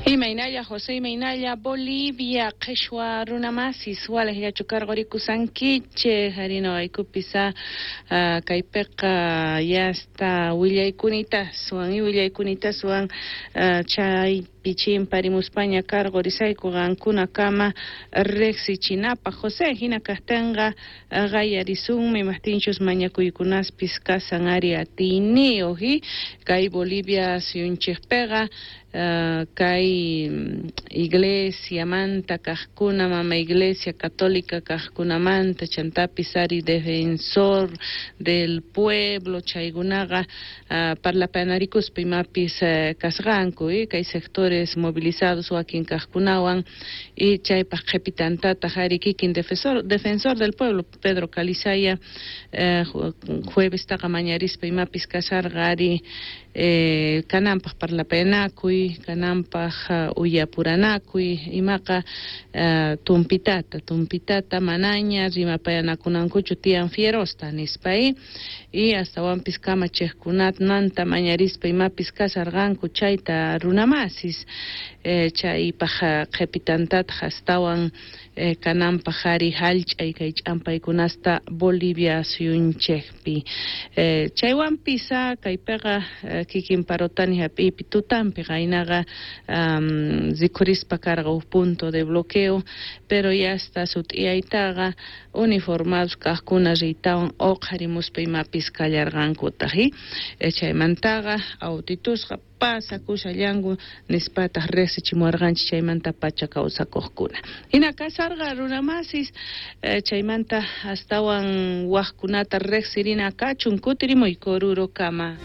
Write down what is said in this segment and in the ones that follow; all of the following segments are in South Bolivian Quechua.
Imaynalla José, imaynalla Bolivia, qheshwa runamasis, walejllachu karqurikusankichej, ari noqaykupis kaypiqa yasta willaykunitasuwan y willaykunitasuwan chaypi chimparimuspaña karqurisayku qankunakama riqsichinapaq. José, hina kaqtinqa qayarisunmi imajtinchus mañakuykunaspis kasan ari atiyniyuq y kay Bolivia suyunchikpiqa kay iglesiamanta kaqkuna, mama iglesia católica kaqkunamanta, chantapis ari defensor del pueblo chaykunaqa parlapanarikuspa imapis kasqanku y kay sectores movilizados wakin kaqkunawan y chaypaq qhipitantataq ari kikin defensor del pueblo Pedro Calizaya juevestaqa mañarispa imapis kasharqa ari kananpaq parlapayanakuy, kananpaq uyapuranakuy, imaqa tumpitata manaña rimapayanakunankuchu tiyan fierosta nispa y astawanpis kamachiqkunamanta mañarispa imapis kasharqanku chayta runamasis chaypaq qhipitantataq astawan kananpaq ari hallch'ay kay ch'ampaykunasta Bolivia suyunchikpi. Chaywanpis kaypiqa kikin Parotani hap'iypi tutanpi qaynaqa rikhurispa karqa huk punto de bloqueo, pero yasta sut'iyaytaqa uniformados kaqkuna riytawan uqharimuspa imapis kallarqankutaq chaymantaqa autitusqa pasakushallanku nispataq riqsichimuwarqanchik chaymanta pacha kawsakuqkuna. Hina kasarqa runamasis chaymanta astawan waqkunata riqsirina kachun kutirimuyku Orurokama.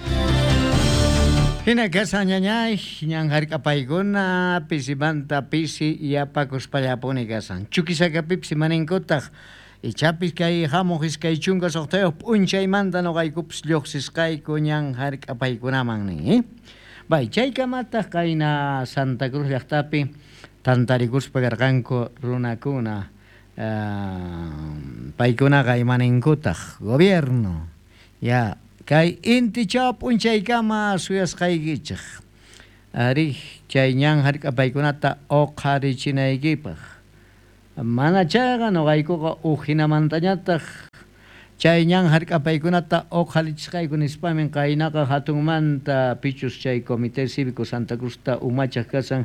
Hina kasan ñañay, ñan hark'apaykuna pisimanta pisi yapakuspallapuni kasan. Chuquisacapipis imaninkutaq ichapis kay hamuq 26 p'unchaymanta noqaykupis lluqsisqayku ñan hark'apaykunaman nin. Bay, chaykamataq qayna Santa Cruz llaqtapi tantarikuspa karqanku runakuna paykunaqa imaninkutaq gobierno ya kay intichaw p'unchaykama suyasqaykichik ari chay ñan hark'apaykunata uqharichinaykipaq mana chayqa noqaykuqa uqhinamantañataq chay ñan hark'apaykunata uqharichisqayku nispamin qaynaqa hatunmanta pichus chay Comité Cívico Santa Cruzta umachaq kasan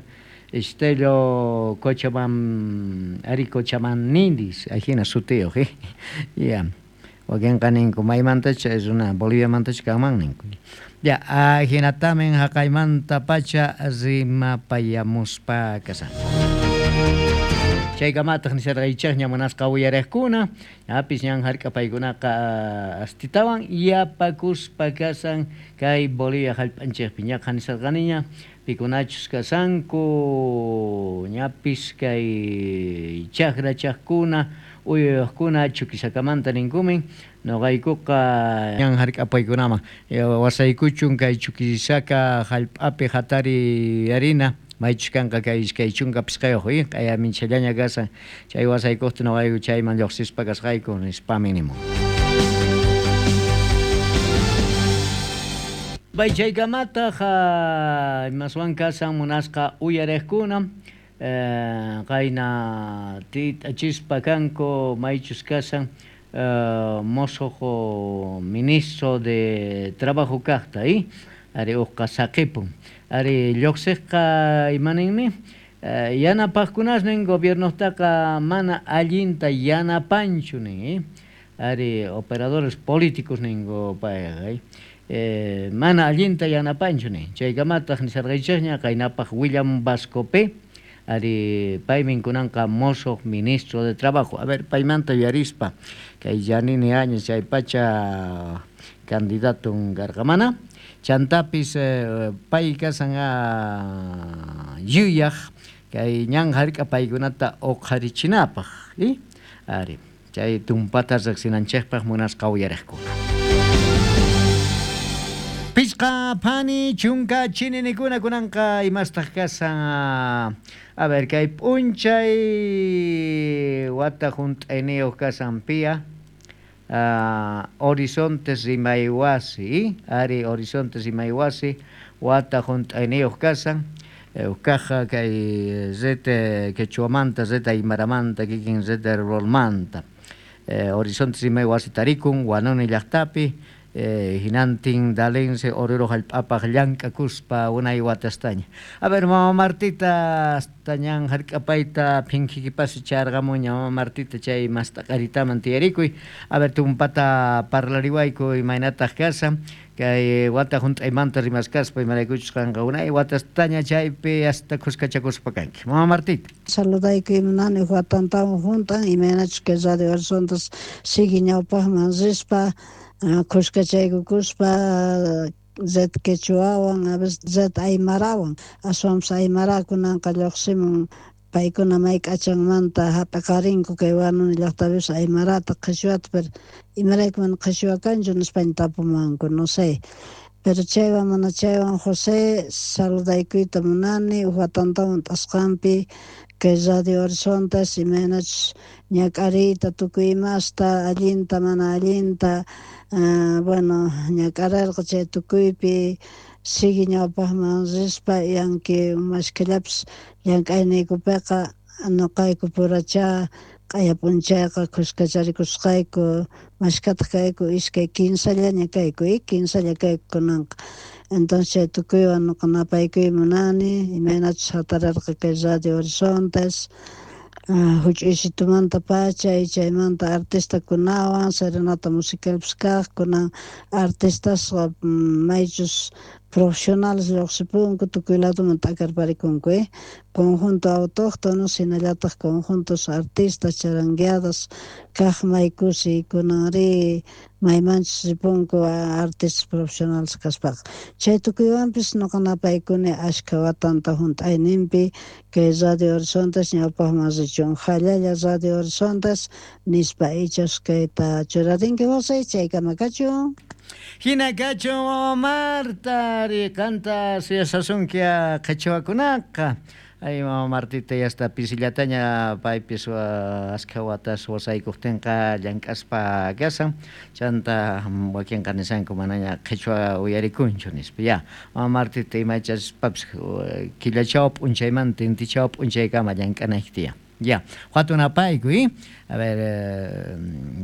Estelio Cochabam ari Cochabamninis ajina sutiyuq ya wakinqa ninku maymantacha runa Boliviamantacha kanman ninku ya ajinatamin haqaymanta pacha rimapayamuspa kasan. Chaykamataq nisharqaychikña munasqa uyariqkuna ñapis ñan hark'apaykunaqa astitawan yapakuspa kasan kay Bolivia hallp'anchikpi ñaqa nisharqaniña pikunachus kasanku ñapis kay chakrachaqkuna uyayuqkuna Chuquisakamanta ninkumin noqaykuqa ñan hark'apaykunaman wasaykuchun kay Chuquisaca hallp'api hatari harina maychus kanqa kay 25 q'ayaminchallaña kasan chay wasaykuqta noqayku chayman lluqsispa kasqayku nispami nimun. Bay chaykamataq imaswan kasan munasqa uyariqkuna qayna tit'achispa kanku maychus kasan mosoq ministro de trabajo kaqta ari uqqa saqipun ari lluqsiqqa imaninmi yanapaqkunasnin gobiernotaqa mana allinta yanapanchu nin ari operadores políticos ninku payqa mana allinta yanapanchu nin chaykamataq nisharqaychikña qaynapaq William Vasco P ari paymin kunanqa mosoq ministro de trabajo. A ver paymanta yuyarispa kay Yanini Áñez chay pacha candidato karqa chantapis pay kasan yuyaq kay ñan hark'apaykunata uqharichinapaq ari chay tumpata riqsinanchikpaq munasqa uyariqkuna. Pichqa phani chunka chininikuna kunanqa imastaq kasan a ver kay p'unchay wata hunt'ayniyuq kasan pia Horizontes Rimaywasi ari Horizontes Rimaywasi wata hunt'ayniyuq kasan Ujkaj kay red quechuamanta, red aymaramanta, kikin red ruralmanta. Horizontes Rimay wasi tarikun Huanuni llajtapi, hinantin Dalense Oruro jallp'apaj llank'akuspa unay watastaña. A ver, mama Martita, hasta ñan jark'apayta phinkikipasi charqamuña, mama Martita, chay mast'aqaritaman tiyarikuy. A ver, tumpata parlariwayku imaynataq kashan kay wata junt'aymanta rimaskaspa, imaraykuchus qanqa unay watastaña chaypi hasta khuskachakuspa kanki. Mama Martita. Saludaykuy munani watantawan junt'an, imaynachus kay Radio Horizontes sigue ñawpaqman rispa, khuskachaykukuspa red quechuawan, a veces red aymarawan, aswanpas aymara kunanqa lluqsimun, paykuna may k'achanmanta hap'iqarinku kay Huanuni llaqtapis aymarata, qhichwata, pero imarayku mana qhichwa kanchu nispaña tapumanku, no sé. Pero chaywan mana chaywan, José, saludaykuyta munani uj watantawan t'asqanpi kay Radio Horizontes, imaynachus ñak'ariyta tukuy imasta, allinta mana allinta, bueno, ñak'ararqa chay tukuypi sigue ñawpaqman rispa, y aunque mashkhallapis llank'ayniykupiqa noqayku purachá q'aya p'unchayqa khuskacharikusqayku, mashkhataq kayku, iskay kinsallaña kayku, kinsalla kayku kunanqa. Entonces chay tukuywan noqa napaykuy munani, imaynachus hatararqa kay Radio Horizontes, huch'uysitumanta pacha, y chaymanta artistakunawan, serenata musicalpis kaq, kunan artistasqa maychus profesionales lluqsipunku, tukuy ladoman t'akarparikunku, conjunto autóctonos, hinallataq conjuntos artistas, charangueadas, kaq may kusiy kunanri maymanchus ripunku artistas profesionales kaspaqa. Chay tukuywanpis noqa napaykuni ashkha watanta junt'ayninpi kay Radio Horizontes ñawpaqman richun, jallalla Radio Horizontes nispa ichas kayta churarinki, José, chaykama kachun. Hina kachun, mama Marta, qanta suyasasunkia qhichwakunaqa. Ay, mama Martita, ya hasta pisillataña paypis askha watas wasaykuqtinqa llank'aspa kashan, chanta wakinqa nishanku manaña qhichwa uyarikunchu nispa. Ya, mama Martita, imachaspapis killachaw p'unchaymanta intichaw p'unchaykama llank'anayki tiyan. Ya, hatun apaykuy, a ver,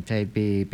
chaypi.